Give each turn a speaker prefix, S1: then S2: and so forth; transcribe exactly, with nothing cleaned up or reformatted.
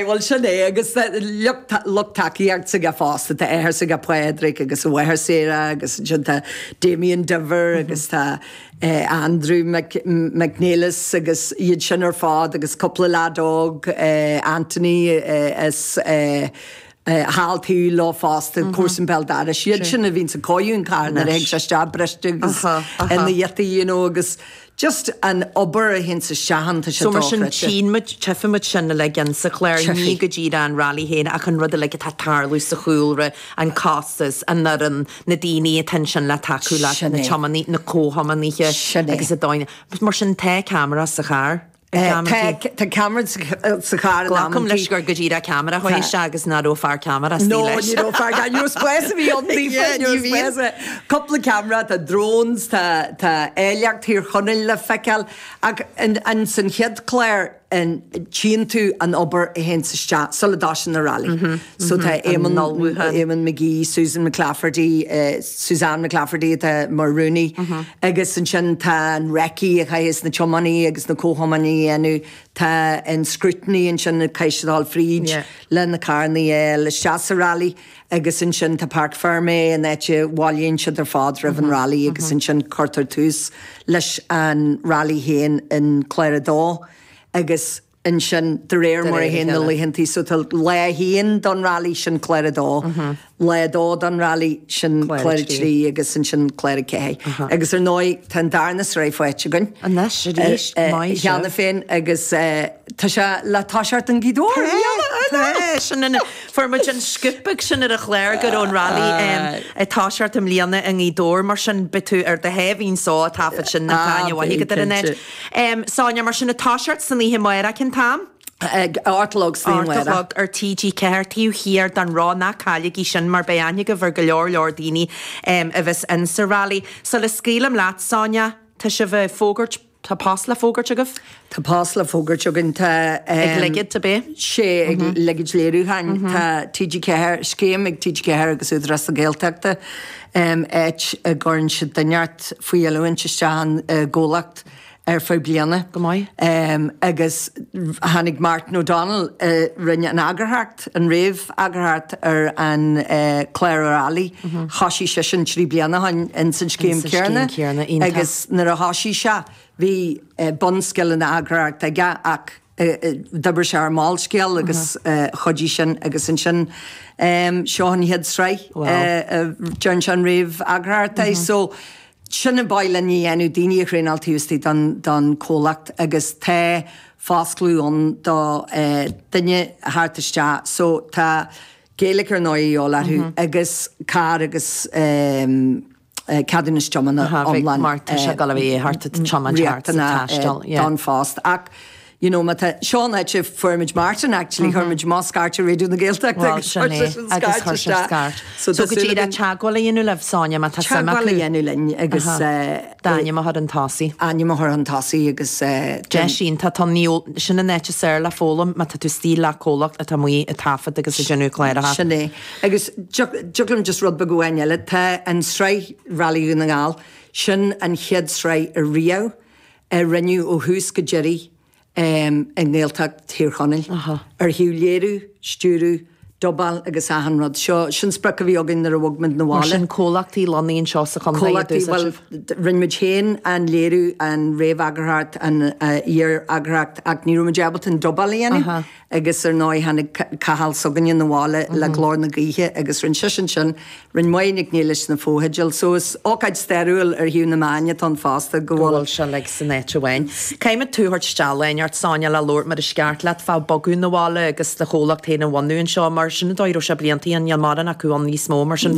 S1: Well sin é agus lucht tacaíochta s'aige fosta tá athair s'aige Pádraig agus a mháthair Sarah agus ansin tá Damien Diver agus tá Andrew McNeilis agus iad sin ar fad agus cúpla leaid óg Anthony is thall taobh leo fosta comharsan béal dorais. Iad sin a bhíonn ag cóiriú an carr nuair a thig sé isteach briste agus ina ghiota you know agus just an obair a théann isteach ann tá sé
S2: So mar sin
S1: dochreidte.
S2: tchíonn muid tchífidh muid sin uilig insa chlár ní go díreach an rally féin ach an rud uilig atá ag tarlú sa chúlra, an costas, an fhoireann, na daoine atá ansin le tacú leat,
S1: Sin
S2: na
S1: é.
S2: tiománaí, na comhthiománaithe
S1: Sin é.
S2: agus a dóine. Mar sin tá ceamara sa charr.
S1: Tá tá ceamara sa charr in
S2: Glacaim leis
S1: amantaí.
S2: gur go díreach ceamara chuaigh isteach agus nach raibh fear ceamara
S1: No,
S2: leis.
S1: ní raibh fear ní raibh spás a bhí ann
S2: Yeah,
S1: ní
S2: ní bhíonn.
S1: raibh Cúpla ceamara tá drones tá tá áilleacht Thír Chonaill le feiceáil ach an, an san chéad chlár an tchíonn tú an obair a théann isteach sula dtosaíonn na rally. Mm -hmm, so tá Eamon Eamon McGee, Susan McClafferty, uh, Suzanne McClafferty atá mar rúnaí mm -hmm. agus ansin tá an recce a chaithfidh na tiománaí agus na comhthiománaí a dhéanamh tá an scrutiny ansin caithfidh siad dul fríd
S2: Yeah.
S1: le na carranna isteach sa rally agus ansin tá Parc Fermé an áit a bhailíonn siad ar fad roimh an rally agus ansin cuirtear tús leis an rally féin in Clár a dó agus ansin de réir mar a
S2: réir a
S1: théann na
S2: chéile.
S1: laethantaí so tá lá haon don rally sin clár a dó, lá dó don rally sin
S2: Clár a
S1: clár a
S2: trí.
S1: trí agus ansin clár a ceathair. Agus ar ndóigh tá an darna sraith faighte againn.
S2: Anois arís,
S1: Eh, eh,
S2: maith
S1: Cheana
S2: sibh.
S1: féin agus eh, tá sé le toiseacht i nGaoth Dobhair.
S2: Tá sin in fuair muid an scoop sin ar an chlár go raibh an rally ag toiseacht i mbliana i nGaoth Dobhair mar sin beidh tú ar do thaobhín só ag taifead sin na
S1: Ah,
S2: táine bhaithe go an
S1: cinnte.
S2: Um, Sonia mar sin ag toiseacht san oíche amárach cén t-am?
S1: Ag Artlog
S2: Artalog ar TG ceathair taobh thiar den Roth ná cailligí sin mar beidh aithne agaibh ar go leor leor daoine um, a bheas insa rally. So le scaoileam leat Sonia, tá sibh ag fógairt tá post le fógairt agaibh?
S1: Tá post le fógairt againn tá
S2: Ag ligid a bé?
S1: sé ag ligid léiriúcháin Tá TG ceathair scéim ag TG ceathair agus Údarás na Gaeltachta um, áit a gcuireann siad duine faoi oiliúint isteach an uh, gcomhlacht ar feadh bliana.
S2: Go maith.
S1: Um, agus tháinig Martin O'Donnell uh, rinne an eagarthóireacht an réamh-eagarthóireacht ar an uh, clár rally. Mm -hmm. Thosaigh sé sin trí bliana an in san scéim
S2: Insan scéim
S1: céanna
S2: céanna, iontach.
S1: agus nuair a thosaigh sé bhí uh, bunscileanna eagarthóireachta aige ach d'oibrigh sé ar Molscéal agus chuidigh sin agus ansin um, seo an chéad sraith
S2: Wow.
S1: déan an réamh-eagarthóireacht so sin an bail ní dhéanú daoine a thraenáil taobh don, don comhlacht agus tá fosclú an do uh, duine thart isteach so tá Gaeilge ar ndóigh orthu agus carr agus um, ceadúnas tiomána iomlán
S2: Mar tá sé go bhí thart tiomáint thart sa taisteal, yeah.
S1: don phost ach you know, tá Seán eit fuair muid Martin actually chuir muid má scairt Raidió na Gaeltachta
S2: Well, sin é, agus chuir sé scairt. So go dtí le teagmháil a dhéanamh libh Sonia má tá suim
S1: Teagmháil a
S2: acu.
S1: dhéanamh linn agus eh,
S2: D'ainm a chur chun tosaigh.
S1: ainm a chur chun tosaigh agus eh,
S2: Deis sin tá tá níl sin an áit is fearr le foghlaim má tá tú istigh le comhlacht atá amuigh ag taifead agus ag déanamh cláracha.
S1: Sin é. Agus dúglam just rud beag amháin eile tá an sraith Rally Dhún na nGall sin an chéad sraith a riamh a rinneadh ó thús go deireadh um, i nGaeltacht Thír Chonaill. Ar thaobh léiriú, stiúradh, dubáil agus achan rud. Seo sin sprioc a bhí againn nuair a bhog muid na
S2: Mar
S1: bhaile.
S2: sin comhlachtaí lonnaithe anseo sa chontae
S1: Comhlachtaí well rinne muid féin an léiriú an réamh-eagarthóireacht an uh, iar-eagarthóireacht ach ní raibh muid ábalta an dubáil a dhéanamh agus ar ndóigh tháinig Cathal s'againne na bhaile le glór na gaoithe agus rinne sin sin rinne Máire Nic Niallais na fotheidil, so is ócáid stairiúil ar thaobh na meán atá fosta go
S2: go
S1: bhfuil
S2: bhfuil se le san áit amháin. Caithfidh tú thabhairt isteach ort Sonia le labhairt mar is ceart leat fá bogadh na bhaile agus do chomhlacht féin a bhunú anseo mar sin dóir sé bliantaí an níl mar acu an níos mó mar sin